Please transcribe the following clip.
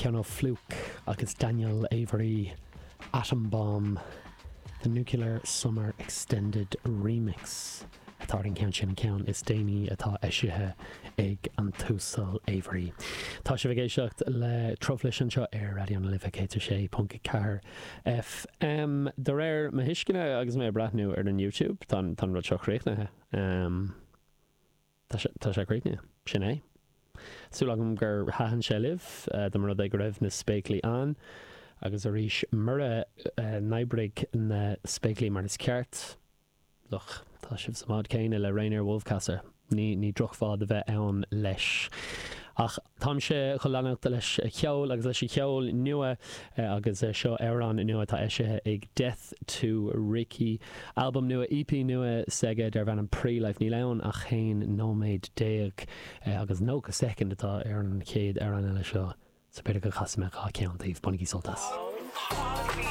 Ceann ó Flook agus Daniel Avery, Atom Bomb, The Nuclear Summer Extended Remix atá ar an gceann sin, an ceann is déanaí atá eisithe ag an tUasal Avery. Tá sibh ag éisteacht le Truflais anseo ar Raidió na Life 106.4 FM. De réir mo thuisceana agus mé ag breathnú ar an YouTube, tá an rud seo críochnaithe. Tá sé, tá sé críochnaithe. Sin é. Súil agam gur thaitin sé libh, dá mba rud é go raibh na spéaclaí ann. Agus arís, mura n-oibrigh na spéaclaí mar is ceart, look, tá sibh sa mbád céanna le Rainier Wolfcastle. Ní, ní drochbhád a bheith ann leis. Ach táimse chun leanacht leis an cheol agus leis an cheol nua agus seo amhrán nua atá eisithe ag Death to Ricky. Albam nua, EP nua s'aige darb ainm Pre-Life. Níl ann ach 11 nóiméad agus 90 soicind atá ar an chéad amhrán eile seo so b'fhéidir go gcasfaidh mé 2 cheann daoibh. Bainigí sult as.